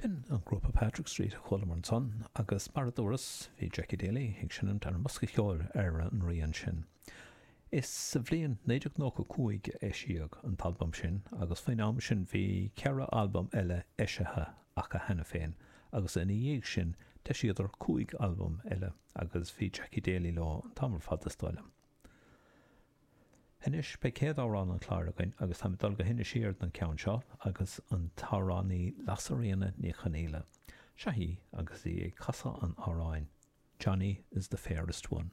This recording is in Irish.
B'in an grúpa Patrick Street a chualamar ansan agus mar a dúras, bhí Jackie Daly ag seinmt ar an mbosca ceoil ar an rian sin. Is sa bhliain 1995 a eisíodh an t-albam sin agus faoin am sin bhí ceithre albam eile eisithe acu cheana féin agus ina dhiaidh sin d'eisíodar cúig albam eile agus bhí Jackie Daly leo an t-am ar fad is dóigh liom. Anois, beidh céad amhrán an chláir againn agus táim ag dul go hInis Oírr don cheann seo agus an t-amhránaí Lasairfhíona Ní Chonghaile. Seo í agus í ag casadh an amhráin 'Johnny is the Fairest One'.